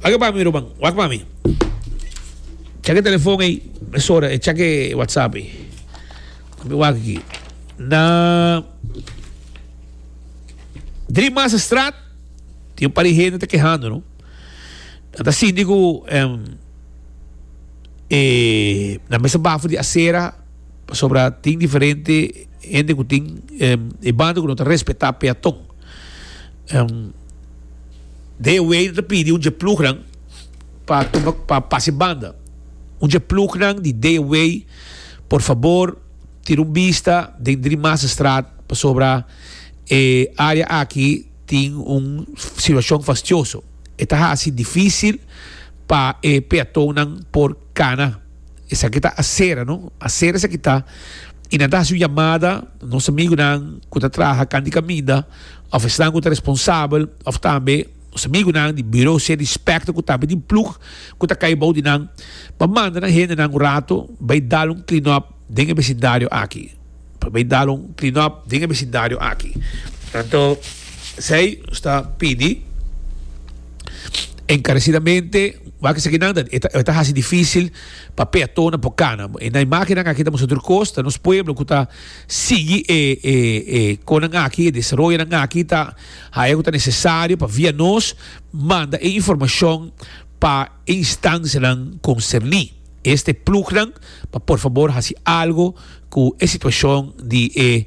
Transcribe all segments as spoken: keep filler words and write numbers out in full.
Wak pa mi, ruman, wak pa mi. Check e telefon ei, mesora, e check e WhatsApp ei. Mi wak aki. Na Driemasterstraat, tin un par di hende ta kehando, no? Nan ta sinti ku em, e, nan mester baha for di asera pasobra tin diferente hende ku tin em, e banda ku no ta respetá peaton. Em, D W ta pidi un dje ploegnan pa tuma pa pasa e banda. Un dje ploegnan di D W, por fabor, tira un bista den Driemasterstraat pasobra e área aki tin un situashon fastioso. E ta hasi difísil pa e peatonnan por kana. Esaki ta asera, no? Asera esaki ta. I nan ta hasi un yamada nos amigunan ku ta traha kant'i kaminda òf esnan ku ta responsabel òf tambe nos amigunan di Bureau City Inspector ku tambe tin ploeg ku ta kai bou di nan pa manda nan hendenan un rato bai dal un clean up den e besindario aki. Pa bai dal un clean up den e besindario aki. Anto esei nos ta pidi enkaresidamente wak esakinan ta e ta e ta hasi difísil pa peatonnan por kana. E na imágennan aki ta mustra tur kos, ta nos pueblo ku ta sigui e e e konan aki, e desaroyonan aki ta haya ku ta nesesario pa via nos manda e informashon pa e instansianan konserní. Este ploegnan pa por fabor hasi algo ku e situashon di e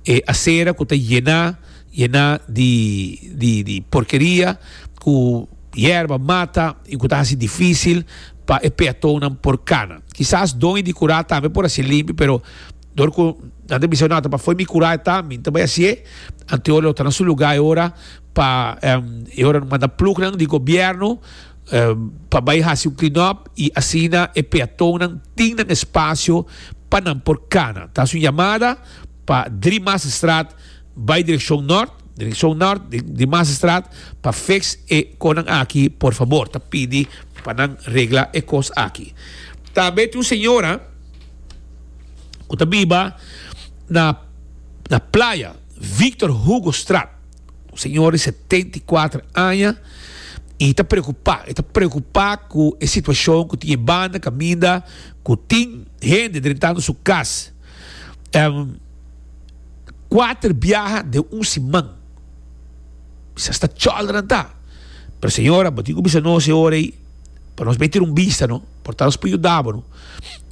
e asera ku ta yená yená di di di porkeria ku yerba, mata i ku ta hasi difísil pa e peatonnan por kana. Kisas doño di kurá tambe por hasi limpi, pero dor ku nan ta bisa no ta pa fo'i mi kurá e ta, mi ta bai hasié, anto lo ta na su lugá e ora pa e ora manda plugnan di gobièrnu pa bai hasi un clean up i asina e peatonnan tin nan espasio pa nan por kana. Ta hasi un yamada pa Driemasterstraat bai direkshon nort, direkshon nort di Driemasterstraat pa fix e konan aki por fabor. Ta pidi pa nan regla e kos aki. Tambe tin un señora ku ta biba na na playa Victor Hugo Straat. Un señora di setenta i kuater aña i ta preokupá, e ta preokupá ku e situashon ku tin e banda kaminda ku tin hende drentando su kas kuater biaha den un siman. Bisa sta chòlder nan ta. Pero señora, bo tin ku bisa nos e ora ei pa nos bai tira un bista no, por ta nos por yuda bo no.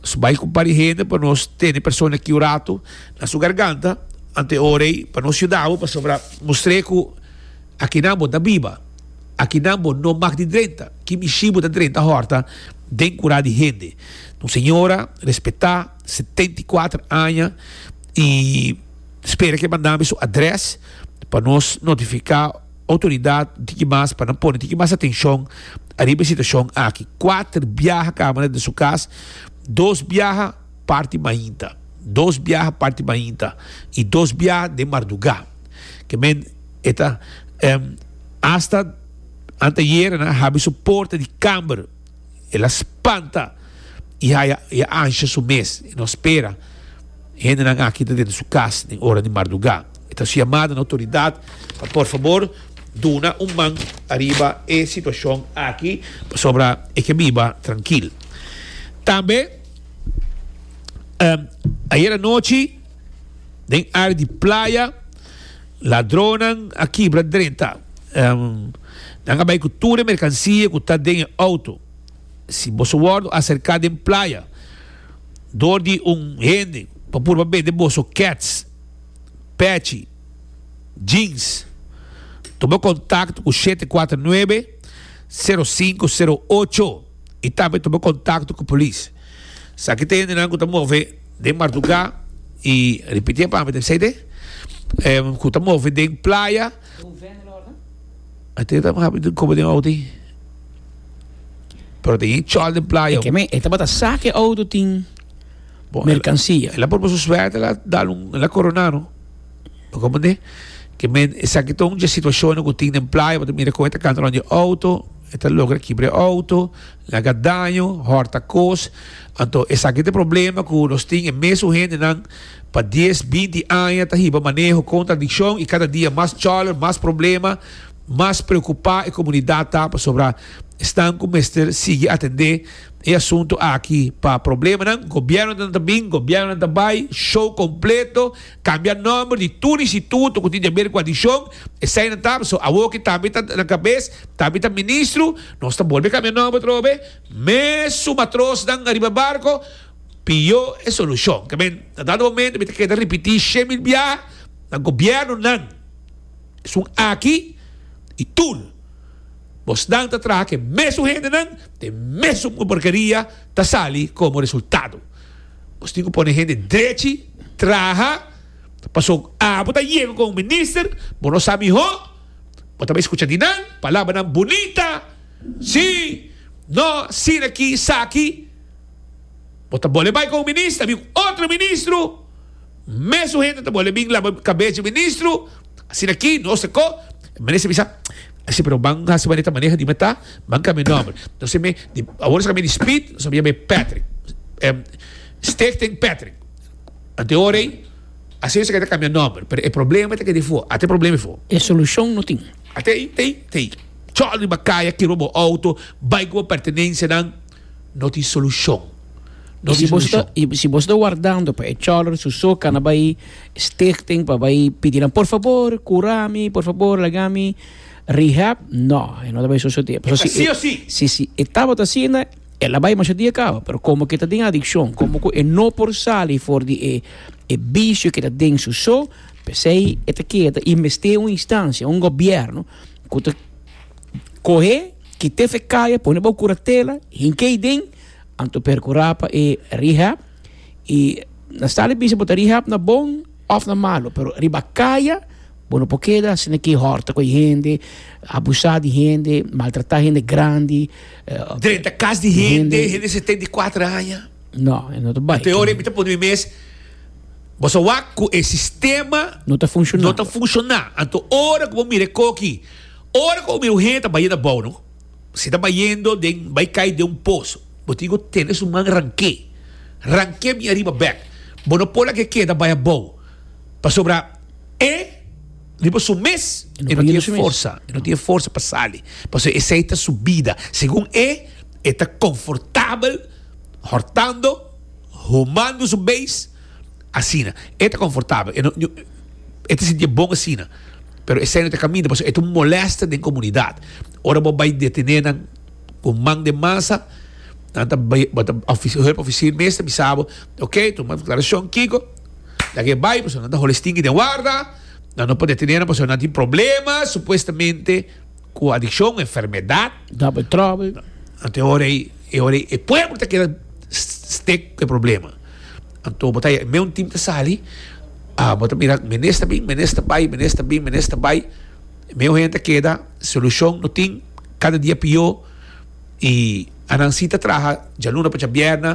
Nos bai ku un par di hende pa nos tene e persona aki un ratu na su garganta, ante e ora ei pa nos yuda bo pasobra mustr'é ku akinan bo ta biba, akinan bo no mag di drenta, ki mishi bo ta drenta hòrta den kurá di hende. Un señora respetá, setenta i kuater aña i spera ke manda mi su adrès pa nos notifiká outoridat un tiki mas pa nan pone un tiki mas atenshon ariba e situashon aki. Kuater biaha kaba den su kas, dos biaha parti mainta, dos biaha parti mainta i dos biaha den mardugá. Ke men e ta asta anteayer nan a habri su porta di kamber. El a spanta i haya i a ansha su mes. E no spera hendenan aki ta drenta su kas den ora di mardugá. E ta su yamada na outoridat pa por fabor duna un man ariba e situashon aki pasobra e ke biba trankil. Tambe ayer anochi den área di playa ladronnan a kibra drenta. Nan a bai ku tur e merkansia ku ta den e outo. Si boso wòrdu aserká den playa dor di un hende pa purba bende boso kèts, pèchi, jeans, tuma kontakto ku shete kuater nuebe, sero sinku sero ocho i tambe tuma kontakto ku polis. Esaki ta hendenan ku ta move den mardugá i ripitié pa mi ta bisai te, ku ta move den playa. Ate ta habi den koba den auto ei. Pero tin chol den playa. E me, e tabata sa ke auto tin Bon, mercancia. El a por su suerte, el a dal un, el a corona no. Bo comprende? Ke men, esaki ta un dje situacionnan ku tin den playa, bo ta mira kon e ta kanta rond di auto, e ta logra kibra e auto, laga daño, hòrta kos. Anto esaki ta e problema ku nos tin e mesun hendenan pa dies, binti aña ta hiba maneho kontra adikshon i kada dia mas chòler, mas problema. Mas preokupá e komunidat ta pasobra esnan ku mester sigui atendé e asuntu aki pa problemanan. Gobièrnunan ta bin, gobièrnunan ta bai, show kompleto, kambia nòmber di tur instituto ku tin di aber ku adikshon, eseinan ta, pasobra awor ki tambe ta na kabes, tambe ta ministro, nos ta bolbe kambia nòmber atrobe, mesun matrosnan ariba barko, pió e solushon. Ke men, na dado momento mi ta keda ripití shen mil biaha na gobièrnunan, esun aki i tur. Bosnan ta traha ku e mesun hendenan, te mesun porkeria ta sali komo resultado. Bos tin ku pone hende drechi traha, pasobra abo ta yega komo minister, bo no sa mihó, bo ta bai skucha di nan palabranan bunita, si, no, asina aki, esaki. Bo ta bole bai komo minister, a bin otro ministro, mesun hende ta bole bin laba kabes di ministro, asina aki, no se ko. E minister bisa, Así, pero ban hasi manera maneha di meta, ban cambia nomber. Entonces me, di, awor se cambia di Speed, se llama Patrick. Um, Stichting Patrick. Ante ora ei, así se cambia nomber. Pero e problema ta que di fu, ate problema fu. E solucion no tin. Ate ei, te, te. Chol riba kaya, kibra bo auto, bai ku bo pertenencianan, no tin solucion. No I si tin bo ta, solucion. I si bo ta wardando pa e choller su so kana bai stichting pa bai pidi nan por fabor kura mi, por fabor laga mi rehab, no, e no ta bai sosodé. E ta Pasobra si sí e o sí. si si e tabata asina, el a bai masha dia kaba, pero komo ke ta den adikshon, komo ku e no por sali for di e e bisio ke ta den su so, p'esei e ta keda i mester un instansia, un gobièrnu ku ta kohe, kit'é fe kaya, pone bou kuratela, hink'é den, anto perkurá pa e rehab. I na sta di bisa bo ta rehab na bon òf na malu, pero riba kaya bo no por keda asina ki hòrta ku e hende, abusá di hende, maltratá hende grandi. Drenta kas di hende, hende setenta i kuater aña. No, e no ta bai. Anto e ora ei mi ta pone mi mes, bo sa wak ku e sistema no ta funshoná. No ta funshoná. Anto ora ku bo mira e koki, ora ku bo mira un hende ta bayendo abou, no? Si ta bayendo den, bai kai den un pos, bo tin ku tene su man rank'é. Rank'é bin ariba bèk. Bo no por laga e keda bai abou. Pasobra e riba su mes e no tin e forsa, e no tin e forsa pa sali. Pasobra esei ta su bida. Segun e, e ta konfortabel hòrtando, humando su beis, asina. E ta konfortabel, e no, e ta sintié bon asina. Pero esei no ta kaminda, pasobra e ta un molèster den komunidat. Ora bo bai detené nan ku man den masa, nan ta bai, bo ta hulp ofisier mes ta bisa bo, ok, tuma deklarashon kiko, laga e bai, pasobra nan ta hole stinki den warda, nan no por detené nan pasobra nan tin problema supuestamente ku adikshon, enfermedat. Double trouble. Anto e ora ei, e ora ei e pueblo ta keda stek ku e problema. Anto bo ta haya me un tim ta sali, ah, bo ta mira minister bin, minister bai, minister bin, minister bai, meo hende ta keda, solushon no tin, kada dia pió, i anan si ta traha djaluna pa djabièrnè,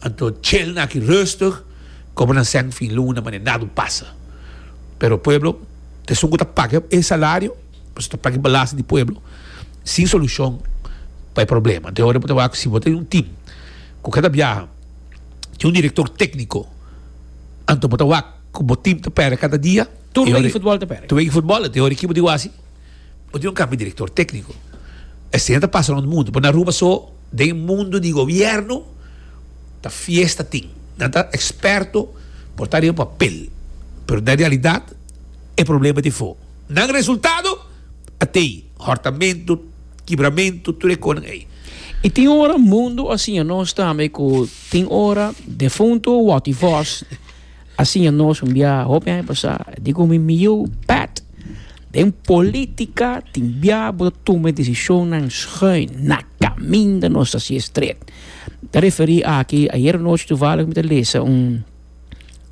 anto chel nan aki rustig, kobra nan sèn fin luna manera nada un pasa. Pero pueblo ta esun ku ta paga e salario, pasobra ta paga e belasting di pueblo, sin solushon pa e problema. Anto e ora bo ta wak si bo tin un tim ku kada biaha tin un direktor tékniko, anto bo ta wak ku bo tim ta pèrdè kada dia. Tur wega di futbòl ta pèrdè. Tur wega di futbòl, anto e ora ki bo di wak si bo tin un kambio di direktor tékniko. Esei ta pasa rònt mundu, pero na Aruba so den e mundu di gobièrnu ta fiesta tin. Nan ta eksperto por ta riba papel, pero den realidat e problema ta efo. Nan resultado a tei, hòrtamentu, kibramentu, tur e konan ei. I tin ora mundu a siña nos tambe ku tin ora defuntu Watty Vos a siña nos un bia hopi aña pasá, di ku mi mi yu Pat, den polítika tin bia bo ta tuma e desishonnan schuin na kaminda nos ta hasié stret. Ta referí aki, ayer anochi toevallig mi ta lesa un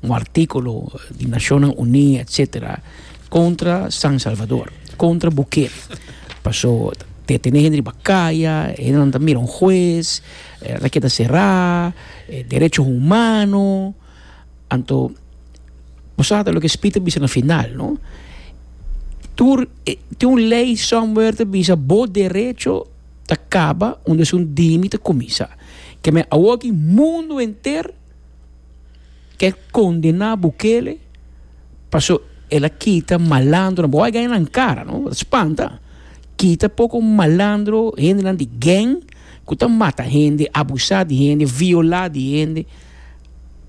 un artíkulo di Nashonnan Uní etcetera kontra San Salvador, kontra Bukele. Paso detené hende riba kaya, hendenan ta mira un hues, ta keda será, derecho humano. Anto bo sa ta loke Speed ta bisa na final, no? Tur tin un lei somewhere ta bisa bo derecho ta kaba unda esun dimi ta kuminsá. Ke men awoki mundu henter ke kondená Bukele paso El a kita malandro, bo a gana nan cara, no? Spanta. Kita poco malandro, hendenan di gang, ku ta mata hende, abusa di hende, viola di hende.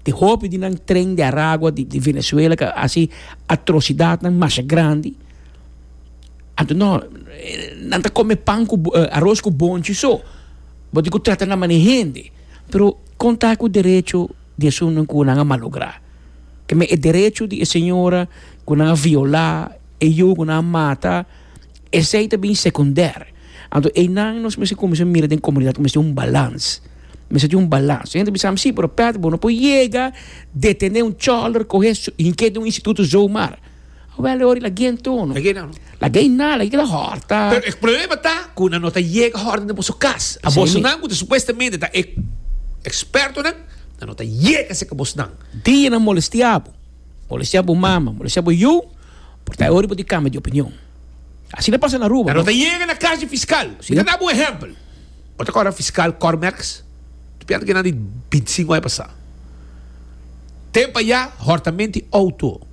Di hopi di nan Tren de Aragua di, di Venezuela, ku hasi atrocidatnan mas grandi. Anto no, nan ta come pan ku uh, aros ku bonchi so. Bo tin ku trata nan manera hende. Pero kon ta ku derecho di esun ku nan a malogra. Ke men e derecho di e señora ku nan a viola, e yu ku nan a mata, esei ta bin secundair. Anto einan nos mester kuminsá mira den komunidat mester un balans. Mester tin un balans. Hende bisa si, pero Pet, bo no por yega detené un choller, kohe hink'é den un instituto zomaar. Wel, ora lag'é anto. Lag'é no. Lag'é na, lag'é keda hòrta. Pero e problema ta ku nan no ta yega hòrta den boso kas. A boso nan ku ta supuestamente ta e ekspertonan, nan no ta yega serka bosnan. Dia nan molestiá bo, molestiá bo mama, molestiá bo yu, por ta e ora bo tin kambia di opinion. Asina pasa na Aruba. Nan no ta yega na kas di fiskal. Mi ta da bo un ehèmpel. Bo ta kòrda fiskal Cormerks? Ta piensa ku nan di binti sinku aña pasá. Tempu ayá hòrtamento di outo.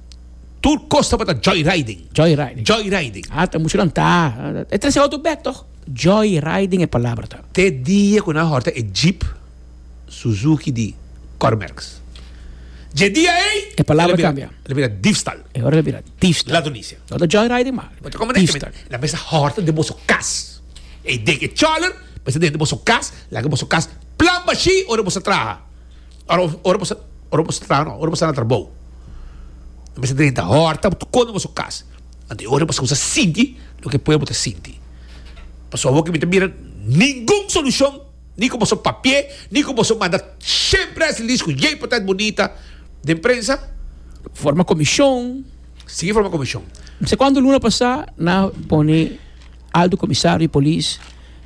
Tur kos tabata joyriding. Joyriding. Joyriding. Ah, ta muchu lantá. E trese outo bèk tòg. Joyriding e palabra ta. Te dia ku nan hòrta e jeep Suzuki di Cormerks. Dje dia ei. E palabra kambia. El a bira diefstal. E ora el a bira diefstal. Ladronisia. No ta joyriding mas. Bo ta komprende? Diefstal. Nan mester hòrta den boso kas. E den e chòler mester den boso kas, laga boso kas plan bashí ora boso traha. Ora ora boso ora boso traha no, ora boso ta na trabou. Nan mester drenta hòrta tur kos den boso kas. Anto e ora boso kuminsá sinti loke e pueblo ta sinti. Pasobra awor ke mi ta mira ningun solushon. Ni ku boso papié, ni ku boso manda shen press release ku yei por ta bunita den prensa. Forma komishon. Sigui forma komishon. No sé kuantu luna pasá nan a pone Alto Komisario di Polis,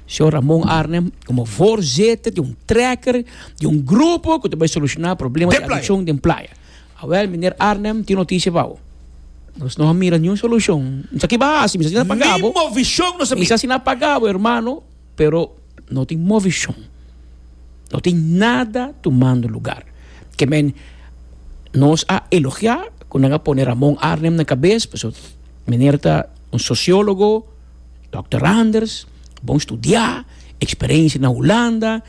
señor Ramon Arnhem, komo voorzitter di un trekker di un grupo ku ta bai solushoná problema di adikshon den playa. Awèl, meneer Arnhem, tin notisia pa bo. Nos no a mira niun solushon. Mi sa ki bo a hasi, mi sa si nan a paga bo. Ni movishon nos a mira. Mi sa si nan a paga bo, hermano, pero. No tin movishon. No tin nada tumando lugar. Ke men nos a elogiá ku nan a pone Ramon Arnhem na kabes, pasobra meneer ta un sosiólogo, dòkter Anders, bon studiá, eksperensia na Hulanda,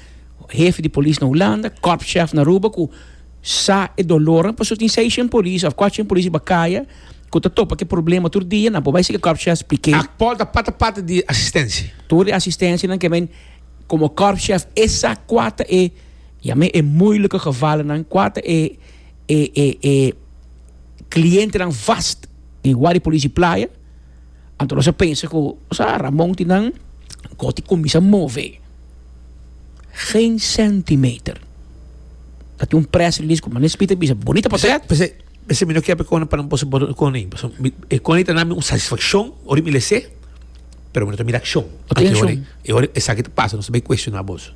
hefe di polis na Hulanda, korpschef na Aruba ku sa e dolornan, pasobra tin seishent polis òf kuatrshent polis riba kaya ku ta topa ku e problema tur dia, nan por bai sigui korpschef splik'é. Akpòl ta pata parti di asistensia. Tur e asistensianan ke men komo korpschef e sa kua ta e yam'é e moeilijke gevallennan, kua ta e e e e klientenan vast di Guardia Polis di Playa. Anto nos a pensa ku sa Ramon tin nan ku tin kuminsá move. Geen centimeter. Ta tin un press release ku Mané Smit a bisa bonita portret. P'esei p'esei mi no kier pa e kone pa nan boso por kone. Pasobra mi e kone ta nami un satisfakshon ora mi les'é, pero mi no ta mira akshon. No tin akshon. E ora esaki ta pasa nos ta bai kuestioná boso.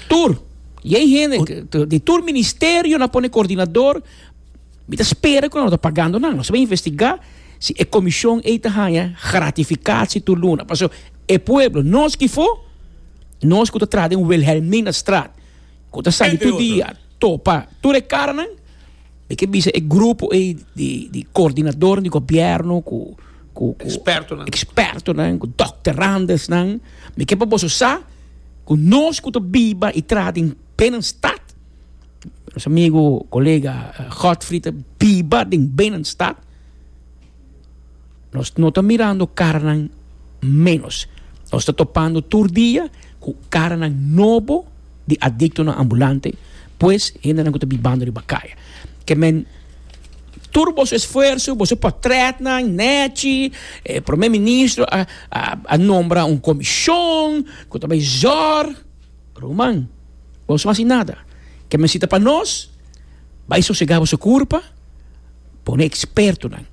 Tur, yei hende di tur ministerio nan pone koordinador. Mi ta spera ku nan no ta pagando nan. Nos ta bai investigá si e komishon ei ta haña gratifikasi tur luna. Pasobra e pueblo, nos kifó, nos ku ta traha den Wilhelminastraat, ku ta sali tur dia topa tur e karanan, mi ke bisa e grupo ei di di koordinadornan di gobièrnu ku ku ku Ekspertonan. ekspertonan, ku dokterandesnan, mi ke pa boso sa ku nos ku ta biba i traha den binnenstad, nos amigo kolega Godfried ta biba den binnenstad, nos no ta mirando karanan ménos. Nos ta topando tur dia ku karanan nobo di adiktonan ambulante, pues hendenan ku ta bibando riba kaya. Ke men tur boso esfuerso, boso portretnan nechi, e prome ministro a a nombra un komishon ku ta bai zòrg. Ruman, boso no hasi nada. Ke men si ta pa nos, bai sosegá boso kurpa. Pone expertonan.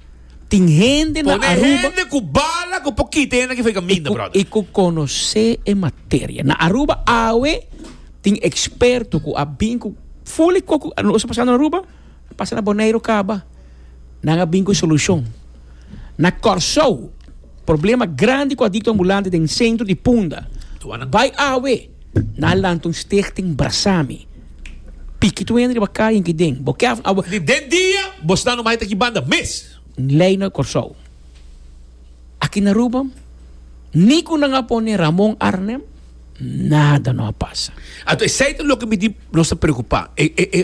Tin hende na Pone Aruba. hende ku bala ku por kita hende aki for e kaminda, brother. I ku konosé e materia. Na Aruba awe tin experto ku a bin ku ful e kos ku nos a pasando na Aruba, a pasa na Boneiru kaba. Nan a bin ku e solushon. Na Kòrsou, problema grandi ku adikto ambulante den sentro di Punda. Bai awe, nan a lanta un stichting Brasami. Piki tur hende riba kaya en ki den. Bo kef awe. Di den dia bo sta no mai ta ki banda mes. Lei na Kòrsou. Aki na Aruba, ni ku nan a pone Ramon Arnhem, nada no a pasa. Anto esei ta loke mi di nos ta preokupá. E, e, e,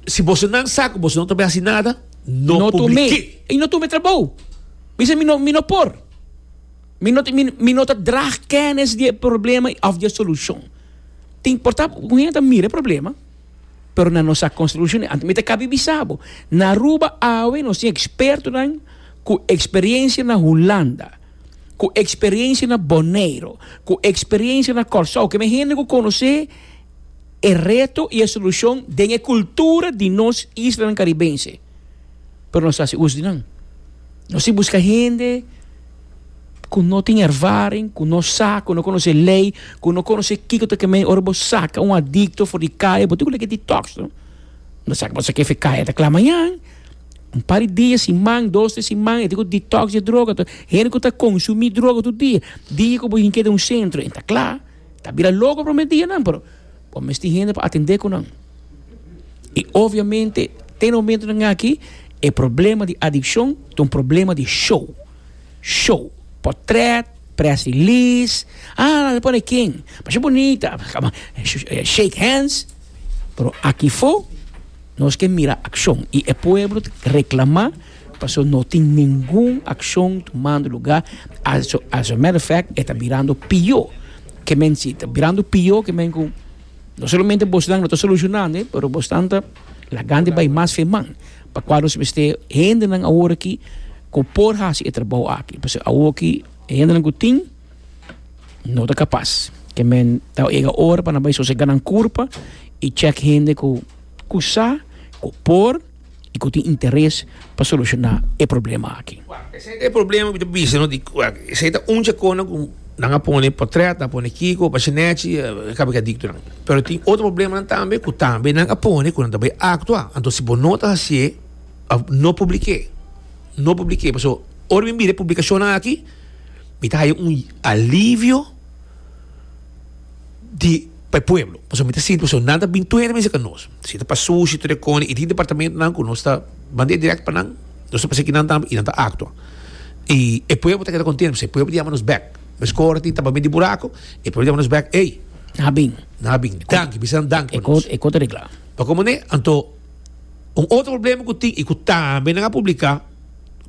si boso nan sa ku boso no ta bai hasi nada, no No tum'é. publik'é. I no tuma e trabou. Bisa mi no, mi no por. Mi no, mi, mi no ta draag kennis di e problema òf di e solushon. Tin por ta un hende ta mira e problema, pero nan no sa kon solushon'é. Anto mi ta kabi bisa bo, na Aruba awe nos tin ekspertonan ku eksperiencia na Hulanda, ku eksperiencia na Boneiru, ku eksperiencia na Kòrsou, ke men hende ku konosé e reto i e solushon den e kultura di nos islanan karibense. Pero nos ta hasi uso di nan. Nos tin buska hende ku no tin ervaring, ku no sa, ku no konosé lei, ku no konosé kiko ta ke men ora bo saka un adikto for di kaya, bo tin ku leke detox, no? No sa bo saka efe kaya ta kla mañan. Un par di dia, siman, dos, tres siman, e tin ku detox di e droga. Hende ku ta konsumí droga tur dia, dia ku bo hink'é den un sentro, e ta kla, ta bira loko promé dianan, pero bo mester tin hende pa atendé ku nan. I obviamente, te na momentonan aki, e problema di adikshon ta un problema di show. Show, portret, press release, ah, nan pone ken, masha bunita, shake hands, pero aki fo nos ke mira akshon i e pueblo ta reklamá pasobra no tin ningun akshon tumando lugá, as a matter of fact e ta birando pió, ke men si ta birando pió ke men ku no solamente bosnan no ta solushonando pero bosnan ta lagando bai mas feman pa kua nos mester hendenan awor aki ku por hasi e trabou aki. Pasobra awor aki e hendenan ku tin no ta kapas. Ke men ta yega ora pa nan bai sosega nan kurpa i chèk hende ku ku sa, ku por i ku tin interes pa solushoná e problema aki. Esei ta e problema ku ta bisa no di esei ta un chakona ku nan a pone potret, nan a pone kiko, bashinechi, kaba ki adiktonan. Pero tin otro problemanan tambe ku tambe nan a pone ku nan ta bai aktua. Anto si bo no ta hasié òf no publik'é, no publik'é pasobra ora mi mira e publikashonnan aki mi ta haya un alivio di pa e pueblo pasobra mi ta sinti pasobra nan ta bin tur hende mester ka nos si ta pa sushi tur e koni i tin departamentonan ku nos ta mand'é dirèkt pa nan nos ta pasa kinan tambe i nan ta aktua i e pueblo ta keda kontento pasobra e pueblo ta yama nos bèk meskor tin tabamento di buraku e pueblo ta yama nos bèk ey Nan a bin. Nan a bin danki bisa nan danki pa nos E kos ta regla. Pa komo ne anto un otro problema ku tin i ku tambe nan a publiká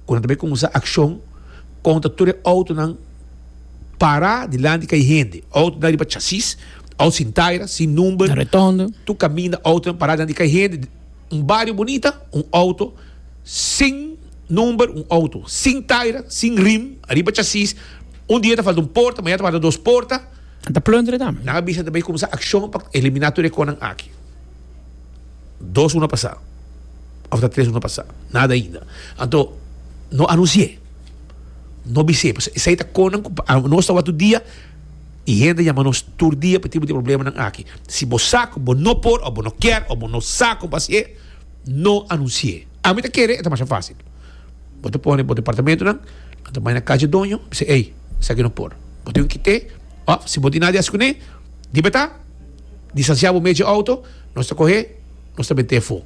ku nan ta bai kuminsá akshon kontra tur e outonan para dilanti kai hende. Outonan riba chasis, outo sin taira, sin number. Na rotonde. Tur kaminda outonan para dilanti kai hende. Un bario bunita, un outo sin number, un outo sin taira, sin rim, ariba chasis. Un dia ta falta un porta, mañana ta falta dos porta. Nan ta plundere tambe. Nan a bisa nan ta bai kuminsá akshon pa eliminá tur e konan aki. Dos luna pasá òf ta tres luna pasá, nada ainda. Anto no anunsi'é, no bis'é, pasobra esei ta konan ku nos ta wak tur dia i hende yama nos tur dia pa e tipo di problemanan aki. Si bo sa ku bo no por òf bo no kier òf bo no sa kon pa hasié, no anunsi'é. Ami ta kere e ta masha fásil. Bo ta pone bo departamentonan, nan ta bai na kas dje doño, bisa, ey, esaki no por. Bo tin ku kit'é òf si bo tin nada di hasi kuné, di betá. Distansiá bo mes dje outo, nos ta kohé, nos ta met'é afó.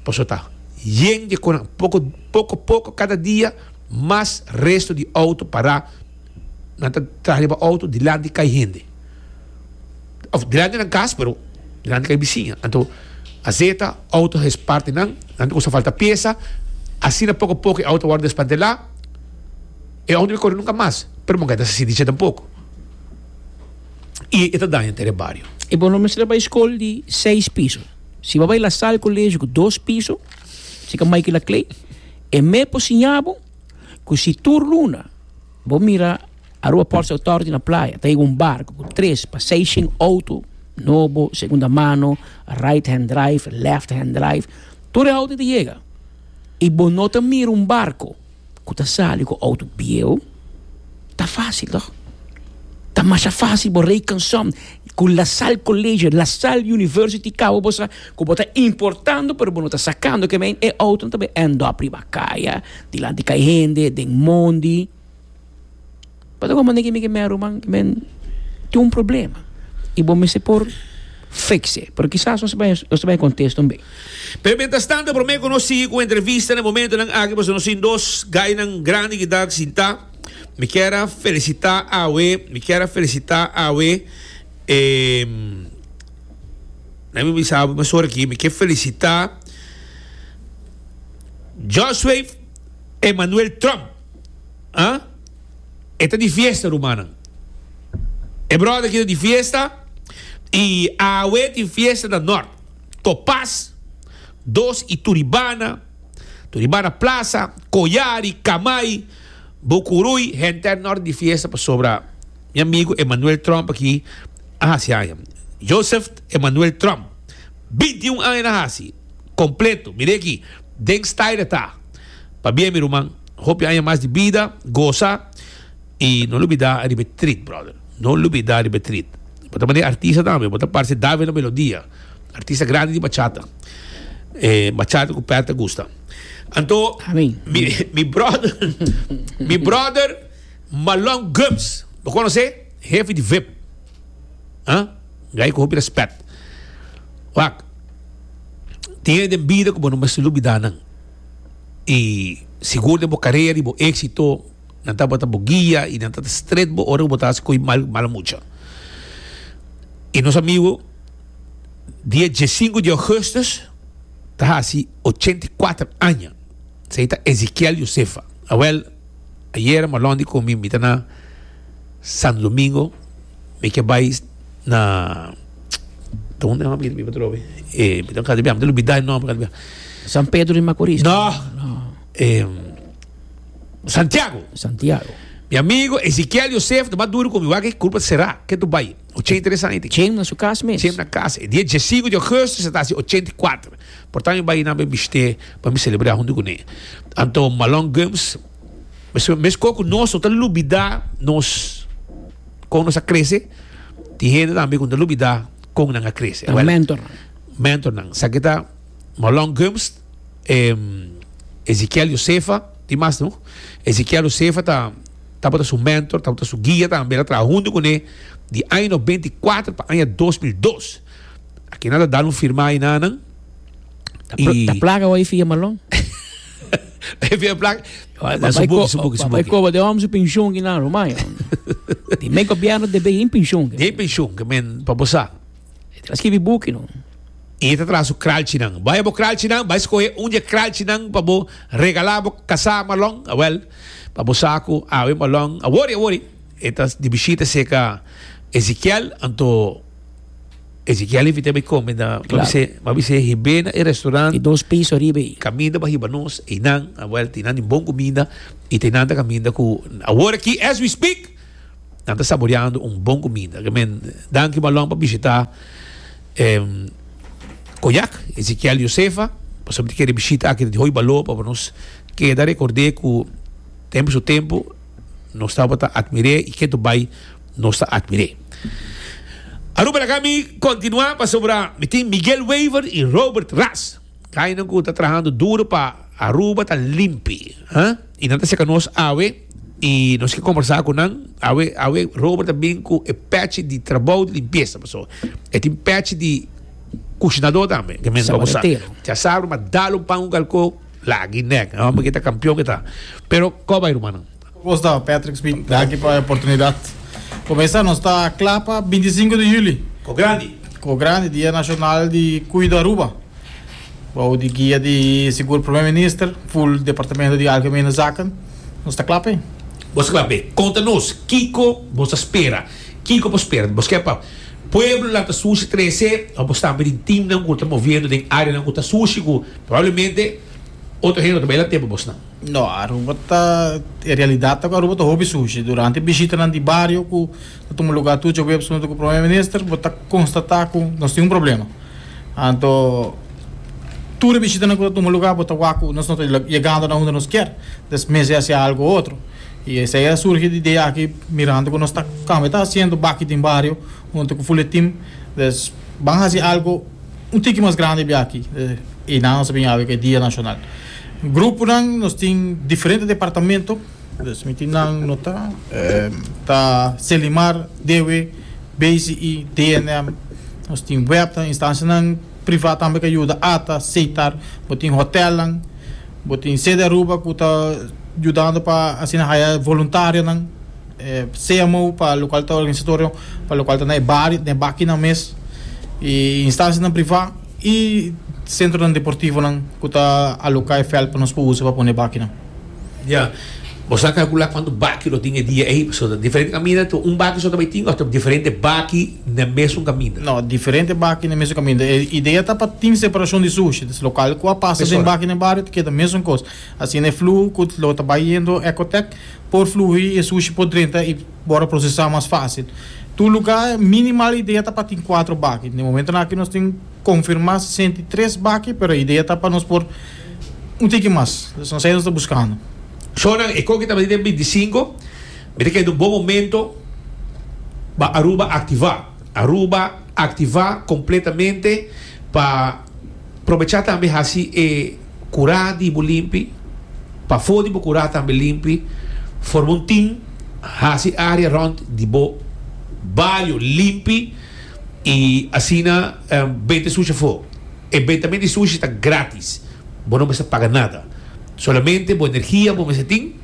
Pasobra ta yen dje konan. Poko, poko, poko kada dia mas resto di outo pará. Nan ta traha riba outo dilanti kai hende. Òf dilanti nan kas, pero dilanti kai bisiña. Anto azeta, outo a hesparti nan, nan ta kusa falta piesa. Asina poko poko e outo a wòrdu desmantelá. E outo no kore nunka mas, pero bo no ta sinti dje tampoko. I e ta daña henter e bario. E bo no mester a bai skol di seis piso. Si bo a bai La Salle Colegio ku dos piso, si ka Michael Laclay, e me por siña bo ku si tur luna bo mira Aruba Ports Authority na playa ta yega un barco ku tres pa seis shen auto nobo, segunda mano, right hand drive, left hand drive, tur e auto ta yega i bo no ta mira un barco ku ta sali ku outo bieu, ta fásil tòg? Ta masha fásil bo rekensom ku La Salle College, La Salle University kaba bo sa ku bo ta importando pero bo no ta sakando ke men e outonan ta bai end up riba kaya, dilanti kai hende, den mondi. Bo ta komprende ke mi ke men ruman? Ke men tin un problema i bo mester por Fix e. Pero kisas nos bai nos bai contesta un be. Pero mientras tanto, prome cu nos sigui cu entrevista na e momentonan aki, pasobra nos tin dos gainan grandi cu ta sinta. Mi kier a felicita awe, mi kier a felicita awe, eh, mi bisa mesora aki, mi kier felicita Joshua Emmanuel Trump. Ah? E ta di fiesta, rumannan. E brother aki ta di fiesta y awe tin fiesta na Noord. Topaz, Dos y Turibana, Turibana Plaza, Koyari, Kamay, Bucuruy, henter Noord di fiesta pasobra mi amigo Emmanuel Trump aki a hasi aña. Joseph Emmanuel Trump, binti un aña na hasi, completo, mire aki, den style ta. Pabien mi ruman, hopi aña mas di bida, goza y no lubida riba e treat, brother. No lubida riba e treat. Bo ta mane artista tambe, bo ta parce David na melodia, artista grandi di bachata. E bachata cu Pat ta gusta. Anto, Amen. mi, mi brother, mi brother Malon Gumbs, bo conoce? Hefe di V I P. Ah? Gai cu hopi respet. Wak, tin hende den bida cu bo no mester lubida nan. Y sigur den bo carera y bo exito, nan tabata bo guia y nan tabata stret bo ora cu bo ta haci coi mal, mala mucha. Y nos amigo, dia diescinco di augustus, ta haci ochenta y cuater aña. Esey ta Ezequiel Josefa. Awel, ayer Marlon di cu mi, mi ta na Santo Domingo, mi ke bay na, ta unda mi mi patrobe? Eh, mi ta kada bia, mi ta lubida e nomber kada bia. San Pedro de Macorís. No. No. Eh, Santiago. Santiago. Mi amigo Ezequiel Joseph, ta mas duro cu mi, wak e culpa será, ke tu bay? ochenta y tres aña tin. Chem na su cas mes. Chem na cas. E dia diescinco di augustus, ta hasi ochenta y cuater. Por tanto, mi bay na mi biste pa mi celebra hunto cu ne. Anto Malon Gumbs, mes, mes coco nos, no ta lubida nos, con nos a crece. Tin hende tambe cu no ta lubida con nan a crece. Ta Well, mentor. Mentor nan. Sa que ta Malon Gumbs, em, Ezequiel Josefa, tin mas, no? Ezequiel Josefa ta, tabata su mentor, tabata su guia tambe, el a traha hunto cu ne di aña noventa y cuatro pa aña dos mil dos. Aki nada dar un firma ahí, nanan. Ta pl-, Y ta plaga hoy fia Malon. Fia plaga. Papai Su buki, co- su buki, su papai buki. coba de homem su pension que na Romagna. Di me governo debe in pension. De pension, que men pa bosa. Te scrivi buki no. E ta tras su kraltje Vai bo kraltje vai escolher um dia kraltje pa bo regalar bo casar Malon. Ah, well, pa bo saco, ah, we Malon. Ah, worry, worry. E ta di visita seca Ezequiel, anto Ezequiel invita me come da, ma Claro. bise, ma bise hibena e restaurante. E dos pisos arriba aí. Caminda pa hiba nos, e nan, a well, tinan din bom comida, e tinan ta caminda ku, agora aqui, as we speak, nan ta saboreando um bom comida. Que men, danke Malon pa visitar, em, Koyak, Ezequiel Josefa, pa sobre que visita aqui de Hoi Balo, pa nos queda recordar que tempo su tempo, nos estava ta admiré e que tu vai nos ta admiré. Aruba la Cami continua pa sobra mi tin Miguel Wever y Robert Ras. Kaya nang kuta trabajando duro pa Aruba ta limpi. ¿Eh? Y nanta se nos awe y nos que conversar con nan awe awe Robert también ku e patch di trabajo de limpieza paso. E tin patch di cocinador también que me vamos a Sabaretero. Ya sabe, ma dale un pan un calco la guiné, no porque está campeón que está. Pero ¿cómo va, hermano? ¿Cómo está, Patrick Smith? Danke pa e oportunidad. Comienza nos ta clapa veinticinco de juli. Co grande. Co grande, Dia Nacional di Cuido Aruba. Bou di guia di sigur Prome Minister, full Departamento di Algemene Zaken. Nos ta clapa. Bos clapa. Conta-nos, Kiko, bos espera. Kiko, bos espera. Bos quer pa pueblo lá ta sushi trece, o bos tambe din team não que tá movendo den área não que tá sushi, que provavelmente outro reino também lá tempo bos não. No, Aruba ta, en realidad ta Aruba ta hobby sushi. Durante visita nan di barrio ku ta tuma lugar tu jo web junto ku Prome Minister, bo ta constata ku nos tin un problema. Anto tur visita nan ku ta tuma lugar bo ta wak ku nos no ta llegando na unda nos kier. Des mester haci algo otro. Y esey a surgi di idea aki mirando ku nos ta cambia ta haciendo baki den barrio junto ku full team. Des ban haci algo un tiki mas grandi bi aki. Eh, y nan nos bin ku Dia Nacional. Grupo nan nos tin diferente departamento. Dus mi tin nan nota, eh, ta Selimar, D W, B C I, D N M, Nos tin W E B, instansianan privá tambe ku yuda, ATA, Setar, bo tin hotelnan, bo tin Sede Aruba ku ta yudando pa asina haya voluntarionan, eh, C M O pa lokual ta organisatorio, pa lokual ta na bar, na bakinan mes, i instansianan privá i sentronan deportivonan ku ta aloká e veld pa nos usa pa pone bakinan. Ja. Bo a kalkulá kuantu baki lo tin e dia ei? So, diferente kaminda, un baki so tambe tin, òf diferente baki na mesun kaminda? No, diferente baki na mesun kaminda. E idea ta pa tin separashon di sushi. Dus lokual ku pasa den baki na bario, ku ta mesun kos. Asina e fluho ku lo ta bayendo Ecotech por flui e sushi por drenta i por prosesá mas fásil. Tur lugá, minimal idea ta pa tin kuater baki. Na momento aki nos tin konfirmá sesenta i tres baki, pero e idea ta pa nos por un tiki mas. Anto, esei nos ta buskando. Shona, e koki tambe den bintisinku, mira ku ta un bon momento pa Aruba aktivá. Aruba aktivá kompletamente pa probechá tambe hasi e kurá di bo limpi, pafó di bo kurá tambe limpi, forma un team, hasi área rònt di bo bario limpi i asina um, benta sushi afó. E bentamentu di sushi ta gratis. Bo no mester paga nada. Solamente bo energia, bo mester tin,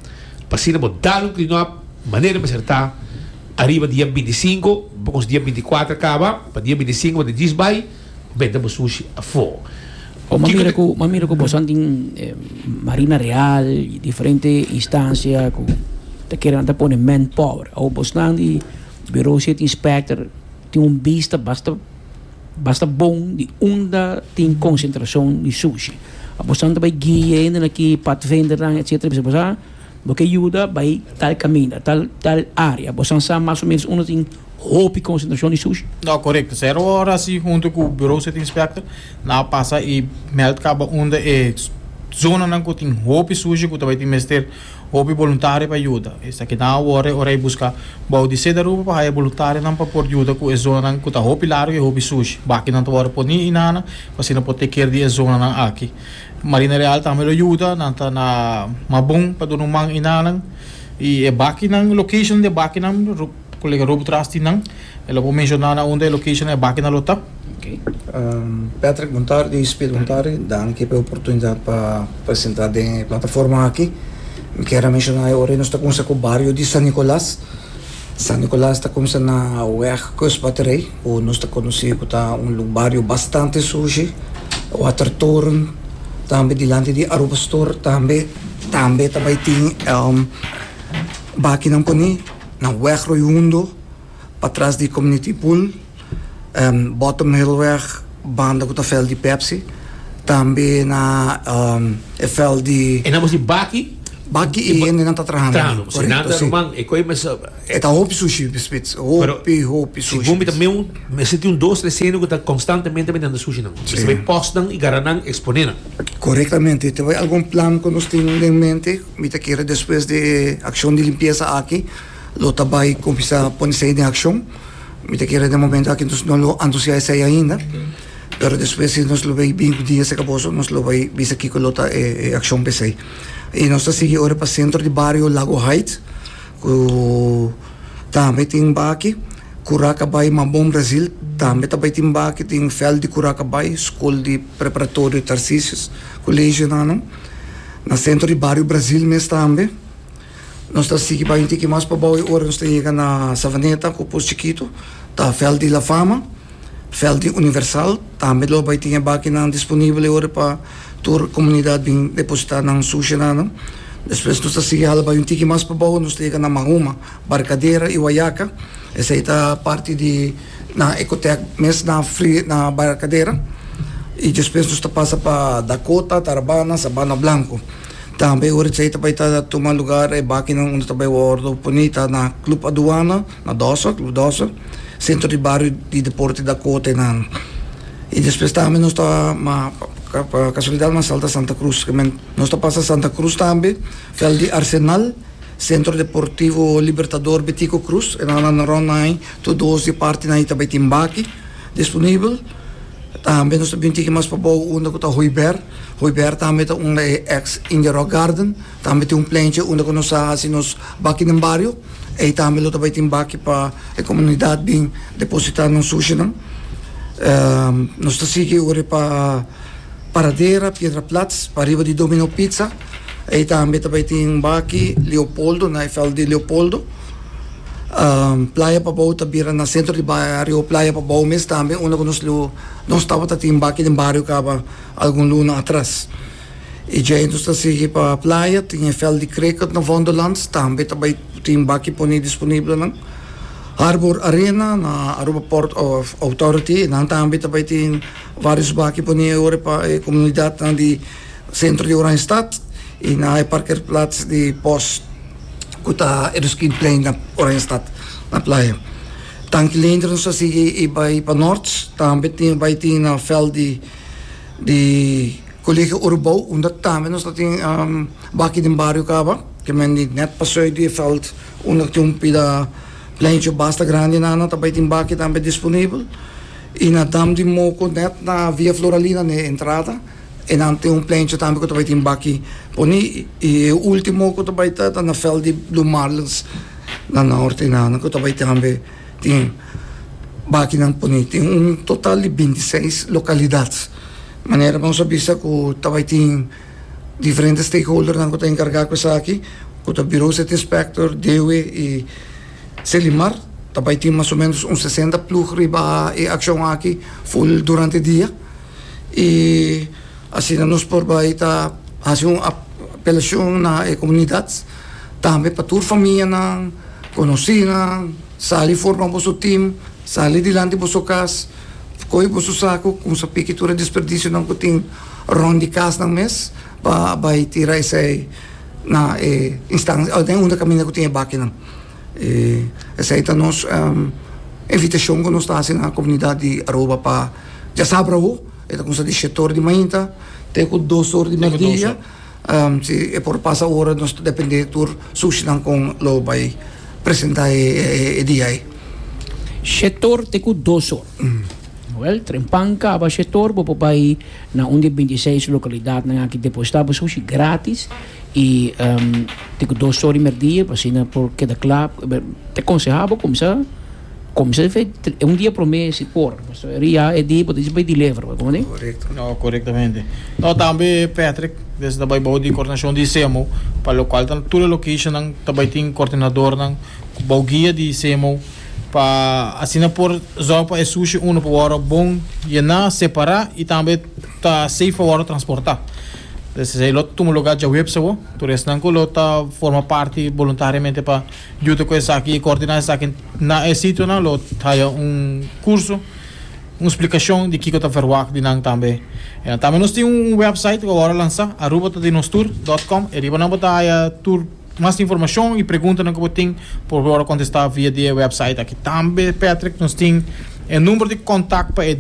pa asina bo dal un clean up, manera mester ta ariba dia bintisinku, poko dia bintikuater kaba, pa dia bintisinku bo djis bai, benta bo sushi afó. O ma mira ku, ma mira ku boso tin eh, Marina Real, diferente instansia ku ta kere ta pone manpower. O boso di Bureau City Inspector tin un bista basta basta bon di unda tin konsentrashon di sushi. A boso ta bai guia ainda aki padvindernan, et cetera. Bisa boso bo ke yuda bai tal kaminda, tal tal área. Boso sa mas o ménos unda tin hopi konsentrashon di sushi. No, korekto. Zero ora asina huntu ku Bureau City Inspector, nan a pasa i meld kaba unda e zonanan ku tin hopi sushi ku tambe tin mester hopi voluntario pa yuda. Esakinan awor ora e buska bou di Sede Aruba pa haya voluntarionan pa por yuda ku e zonanan ku ta hopi largu i hopi sushi. Bakinan ta wòrdu poní einan, pa asina por take care di e zonanan aki. Marina Real tambe lo yuda, nan ta na Mabon pa duna un man einan. I e bakinan location di bakinan kolega Rob tras nan. E lo por menshoná na unda e location e bakinan lo ta. Okay. Um, Patrick, bon tardi, Speed, bon tardi. Danki pa e oportunidat pa presentá e plataforma aki. Mi ke menshoná awor nos ta kuminsá ku e bario di San Nicolas. San Nicolas ta kuminsá na Weg Kustbatterij, ku nos ta konosé ku ta un bario bastante sushi. Watertoren, tambe dilanti di Aruba Store, tambe tambe tambe tin um, bakinan poni na Weg Royundo, patras di Community Pool, um, Bottom Hillweg, banda ku e veld di Pepsi, tambe na um, e veld di E namos di baki, Baki i hende nan ta trahando. Trahando. Si Korekto, nada si. ruman, e koi mas E ta hopi sushi, spits. Hopi, hopi sushi. Segun mi tambe un, mester tin un dos tres hende ku ta konstantemente bentando sushinan. Si. Mester bai postnan i garanan eksponé nan. Korektamente. Tin algun plan ku nos tin en mente. Mi ta kere despues di akshon di limpiesa aki, lo ta bai kuminsá pone den akshon. Mi ta kere den momento aki nos no lo anunsiá esei ainda. Pero despues si nos lo bai bin dia se kaboso, nos lo bai bisa kiko lo ta e, e akshon p'esei. I nos ta sigui ora pa sentro di bario Lago Heights, ku tambe tin baki, Curacabay Mabon Brasil, tambe tambe tin baki, tin veld di Curacabay, skol di preparatorio Tarcisius, kolegio nan. Na sentro di bario Brasil mes tambe. Nos ta sigui bai un tiki mas pabou, ora nos ta yega na Savaneta, ku Pos Chiquito, ta veld di La Fama, veld di Universal, tambe lo bai tin bakinan disponibel ora pa tur komunidat bin depositá nan sushinan. Despues nos ta sigui hala bai un tiki mas pabou, nos ta yega na Mahuma, Barcadera i Guayaca. Esei ta parti di na Ecotec mes na Free, na Barcadera. I despues nos ta pasa pa Dakota, Tarabana, Sabana Blanco. Tambe ora esei tambe ta tuma lugá e bakinan unda tambe wòrdu poní ta na Club Aduana, na Dosa, Club Dosa, Sentro di Bario di Deporte Dakota na. I despues tambe nos ta ma pa kasualidat m'a salta Santa Cruz, ke men nos ta pasa Santa Cruz tambe, veld di Arsenal, Centro Deportivo Libertador Betico Cruz, e na na rònt nan, tur dos di partinan tambe tin baki disponibel. Tambe nos tambe tin mas pabou unda ku ta Hooiberg. Hooiberg tambe ta unda e ex India Rock Garden. Tambe tin un pleintje unda ku nos a hasi nos baki den bario. I tambe lo tambe tin baki pa e komunidat bin depositá nan sushinan. Um, nos ta sigui ora pa Paradera, Piedra Plat, pariba di Domino Pizza. Ey tambe tambe tin baki Leopoldo, na veld di Leopoldo. Um, Playa Pabou ta bira na centro di bario Playa Pabou mes tambe, unda cu nos nos tabata tin baki den bario caba algun luna atras. Y ya nos ta sigui pa Playa, tin veld di cricket na Wonderland, tambe tambe tin baki poni disponibel nan. Harbor Arena na Aruba Port of Authority, nan tambe tambe tin varios baki poni ora pa e comunidad nan di centro di Oranjestad y na parkeerplaats di post cu ta Erskine na Oranjestad na Playa. Tanki Leendert, nos ta sigui y bay pa Noord, tambe tin bay tin na veld di di Colegio Urbou, unda tambe nos tin um, baki den bario caba, kiermen di net paso di veld, unda tin un pida pleintje basta grandi na tambe tin baki tambe disponibel. Y na Dam di Moko, net na Via Floralina, na entrada, y dan tin un pleintje tambe cu tambe tin baki poni. Y e ultimo cu tambe ta na veld di Blue Marlins na Noord na cu tambe tambe tin baki nan poni. Tin un total di binti seis localidad. Manera nos a bisa cu tambe tin diferente stakeholder nan cu ta encarga cu esaki, cu ta Bureau City Inspector, D O E y Selimar. Tambe tin mas o menos un sesenta ploeg riba e accion aki full durante dia. Y asina nos por bay ta haci un apelacion na comunidad tambe pa tur famia nan conoci nan sali forma boso team, sali dilanti boso cas, coy boso saco, cuminsa piki tur desperdicio nan cu tin rond di cas nan mes, pa bay tira esey na eh, instancia, den unda caminda cu tin baki nan. Eh, esey ta nos um, invitacion cu nos ta haciendo na comunidad di Aruba pa diasabra, e ta cuminsa di shete or di mainta te cu dos or di merdia. Um, si e por pasa ora, nos ta depende tur sushi nan con lo bay presenta e, e, e dia ey. Shete or te cu dos or. Mm. Well, trempan caba shete or, bo por bay na un di binti seis localidad nan aki deposita bo sushi gratis y um, te cu dos or di merdia, asina por keda cla, ta conseha bo cuminsa cuminsa un dia prome si por. Ria e dia por bay deliver, con ta? Corecto. No, corectamente. No, tambe Patrick, desde bay bou di coordinacion di C M O, pa locual tur location nan tambe tin coordinador nan bou guia di C M O pa asina por zorg pa e sushi uno pa wordo bon yena, separa y tambe ta safe pa transporta. Entonces, ey lo tuma lugar diahuebs awo, tur esnan cu lo ta forma parti voluntariamente pa yuda cu esaki y coordina esaki na e sitio nan lo haya un curso, un splicacion di kico ta verwacht di nan tambe. E, tambe nos tin un website cu awor a lansa, arubatadinostur punto com, y riba nan bo ta haya tur mas informacion y pregunta nan cu tin por awor contesta via di website aki. Tambe, Patrick, nos tin e number di contacto pa